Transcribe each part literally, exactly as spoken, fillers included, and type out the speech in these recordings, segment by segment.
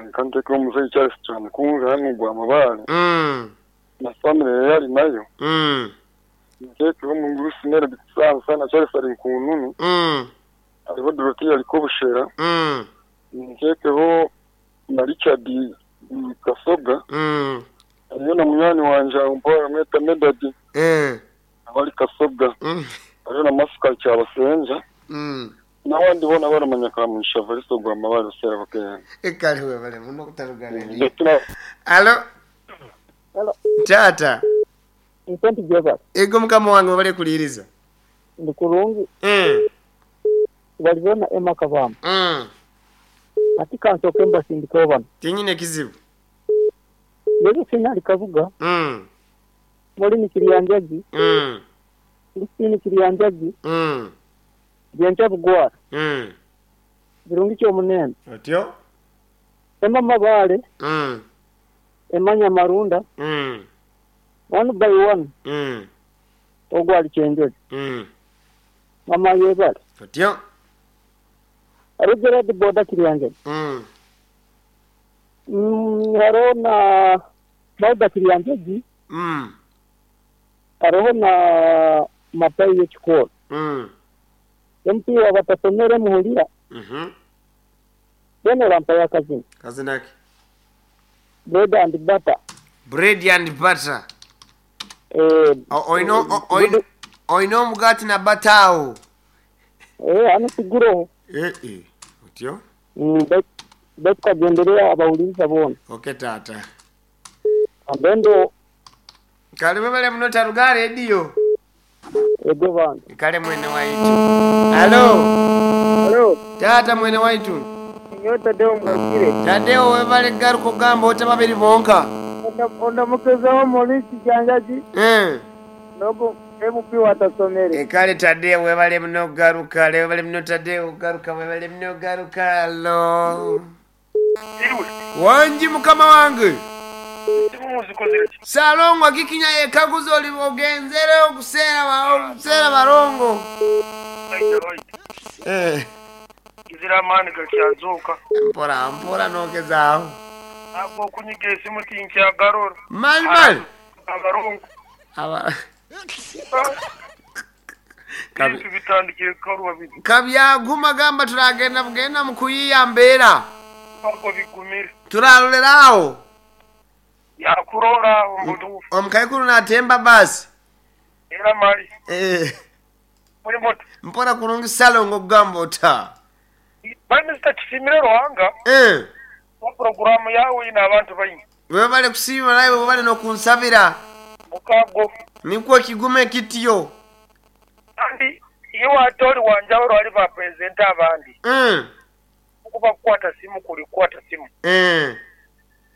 Nkantekeho omuzeeyi Charles Kyamukunja hano gwa Mabale. Mm. Na family yali nayo. Mm. Ntekeho omungurusi Nere Bisansa na Charles ali Nkununu. Mm. Hariho Dorothea ali Kobushera. Mm. Ntekeho na Richard Kasoga. Mm. Hariho na munywani wanje aho mweta Medadi. Eh. Abali Kasoga. Mm. Hariho na Masuka Kyabasenja. Mm. N'abandi bona baramanya Kamugisha Evaristo gwa Mabale Sera bakayana. Ekale webale muno kutarugana. Ndetse na Alo. Alo. Tata. Nsenti Joseph. Ego mukama wange wabale kuliriza. Ndi kulungi. Mm. Walibona Emma Kavama. Mm. Ati kansoke mbasindika bano. Tinyine kizibu. Yesu sinali kavuga. Mm. Moli ni Kiriyanjagi. Mm. Lisini Kiriyanjagi. Mm. Byencha bugwara. Mm. Birungi kyo munene. Otyo? Emma Mabale. Mm. Emma Nyamarunda. Mm. One by one. Mm. Ogwali chenjeri. Mm. Mama yebale. Otyo? Arugera de boda Kiriyanjagi. Mm. Mm, hariho na Bauda Kiriyanjagi. Mm. Hariho na Matayi y'ekikoro. Mm. M P wabatasomere muhulira. Mhm. Bene rampa ya kazini. Kazini ki? Bread and butter. Bread and butter. Eh, oino oino oino omugati na butter awo. Eh, ano siguro. Eh eh. Otyo? Mm, bet kagenderea abawuliriza bona. Okay tata. Ambendo Kale bale muno taruga radio. Ego bana. Kale mwene waitu. Halo. Halo. Tata mwene waitu. Nyo Tadeo mwakire. Tadeo webale garuko gamba ota babiri bonka. Onda mukezaho Maurice Janjaji. Eh. Nogo M P watasomere. Ekale Tadeo webale muno garuka, webale muno Tadeo garuka, webale muno garuka. Halo. Wanji mukama wange. Salongo kikinya yekaguzo oli ogenzere okusera okusera barongo. Eh. Kizira amani gakyazuka. Mpora mpora nogezaaho. Abo kunyiga esimu tinkyagarora. Mali mali. Abarongo. Aba. Kabi bitandikire karuwa bibi. Kabyaguma gamba turagenda bugenda mu kuyiyambera. Bako bigumire. Turaroleraho. Yakurora ombudu. Omukaikuru natemba basi. Era mali. Eh. Muri moto. Mpora kurungi salongo gamba ota. Bamister Kisimire Ruhanga. Eh. Wa programu yawe ina abantu bayingi. Webale kusiima nawe webale nokunsabira. Mukago. Nikwo kigume kitiyo. Kandi iyo atori wanjawuro ali ba president abandi. Mm. Kuba kukwata simu kuli kukwata simu. Eh.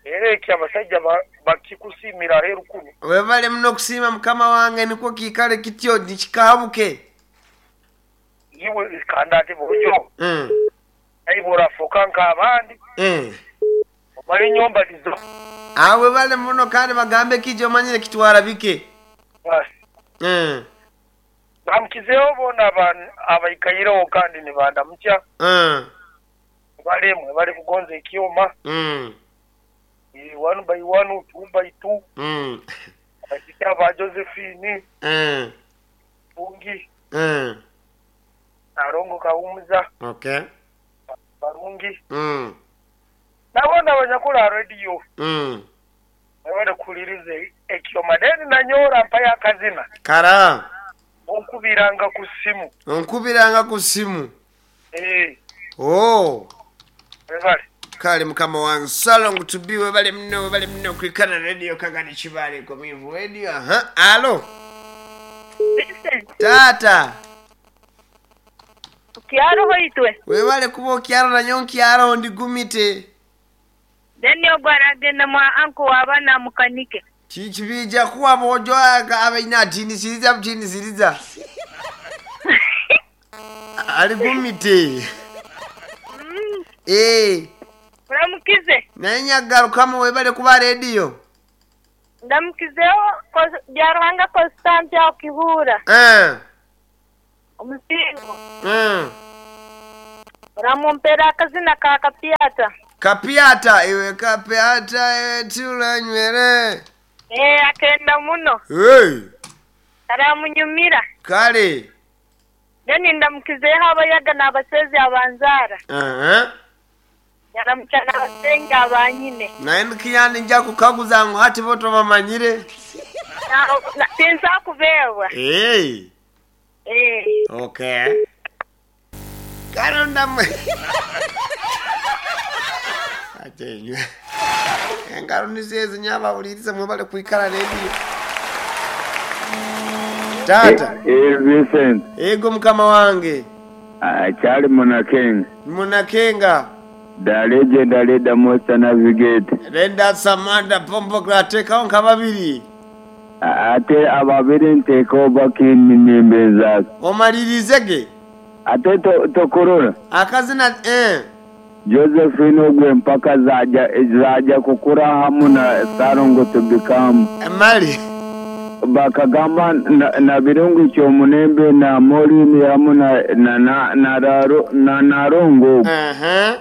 Era eki abasajja bakikusimira heru kumi. Webale muno kusiima mukama wange nikwo kikale kityo nikikabuke. Iwe kanda ati bujo. Mm. Aibora fokanka abandi. Eh. Bali nyomba lizo. Awe bale muno kandi bagambe kijo manyire kitwara bike. Basi. Mm. Bamkizeho bona abantu abayikayireho kandi ni bandamukya. Mm. Balemwe bali kugonza ekyoma. Mm. One by one, two by two. Mm. Abakika ba Josephine. Mm. Bungi. Mm. Arongo Kawumuza. Okay. Barungi. Mm. Nabona abanyakula radio. Mm. Babale kulirize ekyoma deni nanyora mpaya kazina. Kara. Onkubiranga ku simu. Onkubiranga ku simu. Eh. Oh. Bale. Kale mukama wange salongo to be webale mno webale mno kwikana radio kagani kibale komivu radio. Aha. Alo. Tata. Kyaro hoitwe. Webale kuba kyaro na nyonkyaro ndigumite. Deni ogwaragenda mwa anko wabana mukanike. Chichibija kuwa bojo abaina tinisiriza tinisiriza. Aligumite. Mm. Eh. Uramukize. Naye nyagarukamu webale kuba radio. Ndamukizeho Byaruhanga Constante okihura. Eh. Omusingo. Mm. Uramumpera akazina ka kapiata. Kapiata iwe kapiata iwe tulanywere. Eh, akenda muno. Hey. Aramunyumira. Kale. Then ndamukizeho abayaga n'abasezi abanzara. Aha. Yaramukya n'abasenga abanyine. Naye nkiyandi nja kukaguza ngu hati bo tobamanyire. Sinza kubeebwa. Hey. Eh. Okay. Karonda mwe. Atenywe. Engaro nizezi nyaba uliriza mwebale kuikala radio. Tata. Eh, Vincent. Ego mukama wange. Ah, Charlie Munakenga. Munakenga. The legend leader Monster Navigate. Renda Samanda Pombo Grateka onka babiri. Ate ababiri nteeka bakinnimbeza. Omalirize Ate tokurora. Akazina eh. Josephine ogwe mpaka zaja zaja kukura hamu na Sarongo to become. Mali. Bakagamba na, na birungu kyomunembe na Morini hamu na na na na, na narongo. Uh-huh.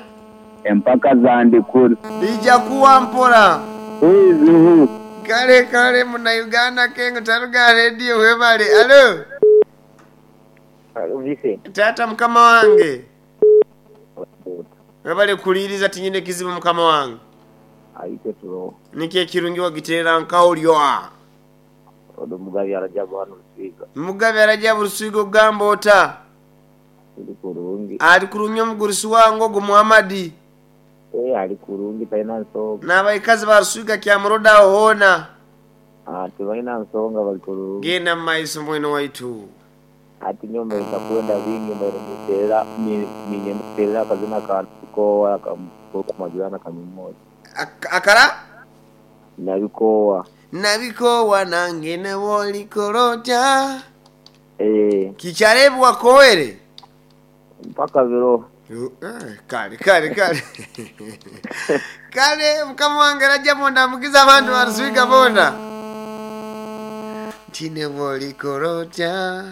Empaka zandikura. Bija kuwa mpora. Who is who? Kale kale muna Uganda kengo taruga radio webale. Alo. Alo Vincent. Tata mukama wange. Webale kuliriza tinyine kizibu mukama wange. Aite tulo. Niki ekirungi wagiterera nkaolyoa. Odo Mugabi Arajabu hano Rusiga. Mugabi Arajabu Rusiga ogamba ota. Ali kurungi. Ali kurungi omugurusi wange ogwo Muhammadi. Eh, ali kurungi talina nsonga. N'abaikazi ba Rusiga kyamuroda aho hoona. Ah, tebalina nsonga bali kurungi. Genda mu maiso mwene waitu. Ati nyomba itakwenda bingi mbere niterera minye niterera akazina ka kowa kamajana kamimoja. Akara? Nabikowa. Nabikowa nange nebolikorota. Eh. Kicharebu wakowere. Mpaka viro. Eh, kale kale kale. Kale mukama wange Rajabu ndamukiza abantu barusiga bona. Tine bolikorota.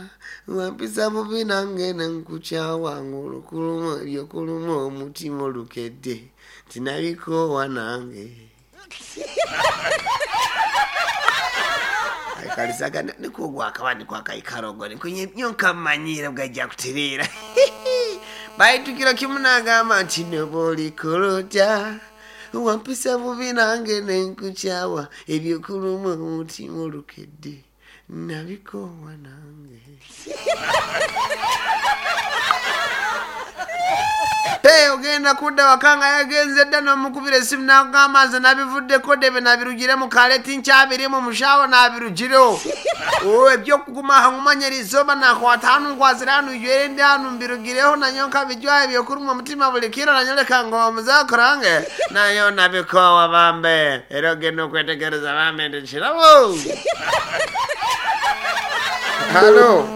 Wampisa bubi nange nenkucha wangu lukuluma lyokuluma omutima olukedde. Tinabikowa nange. Kalisaga niko gwakabandi kwakaikarogo niko nyonka manyira bwajja kuterera. Baitukira kimunagamba nti nebolikorota. Wampisa bubi nange nenkuchawa ebyokuluma omutima olukedde. Nabikowa nange. Pe ogenda kudda wakanga yagenze dda n'omukubira essimu n'akugamba nze nabivuddeko debe nabirugiremu kale tinkyabirimu mushawo nabirugireho. Oh, ebyokuguma hangumanya eriizooba nakwata hanu nkwasire hanu ijwere ndi hanu mbirugireho nanyo nkabijwayo ebyokuruma omutima buli kiro nanyoleka ngo omuzakorange nayo nabikowa bambe. Era ogenda okwetegereza bambe ndi kirabo. Halo.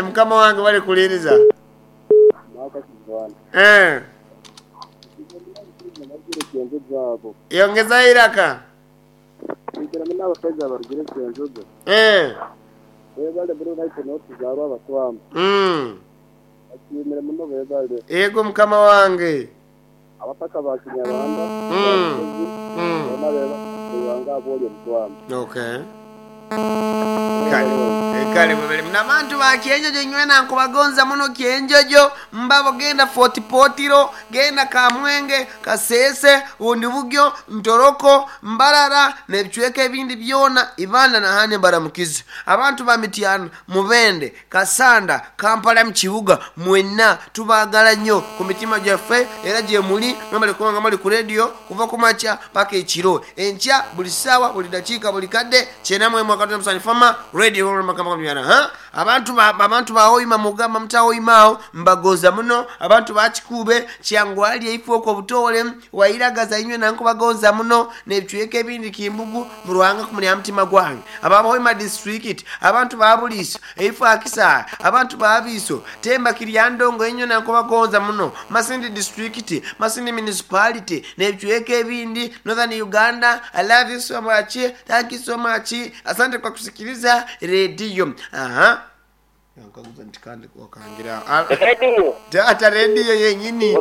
Mukama wange bali kuliriza. Eh. Yongeza iraka. Eh. Mm. Ego mukama wange. Mm. Mm. Okay. Kale. Kale mwebale mnabantu ba Kyenjojo nywena nkubagonza muno Kyenjojo mbabo genda Fort Potiro genda Kamwenge Kasese Bundibugyo Ntoroko Mbarara n'ebicweka ebindi byona Ibanda na hane baramukizi abantu ba Mityana Mubende Kasanda Kampala mu kibuga mwenna tubagala nnyo ku mitima gyaffe era gye muli mwebale kubanga muli ku radio kuva ku makya paka ekiro enkya buli ssaawa buli dakiika buli kadde kyena mwemu akatuna musanyi fama radio makama kamyana ha abantu ba abantu ba oyima mugamba mutaoyimao mbagoza muno abantu bakikube kyangwali eifoko obutole wairagaza inywe nanko bagonza muno nebicweka ebindi kimbugu mu Ruhanga ku mulya mutima gwange ababa oyima district abantu ba buliso eifo akisa abantu ba biso temba kiryandongo inywe nanko bagonza muno Masindi district Masindi municipality nebicweka ebindi Northern Uganda. I love you so much, thank you so much, asante kwa kusikiliza radio. Aha. Nkaguza ntikande kwa kangira. Radio. Tata radio yenyini.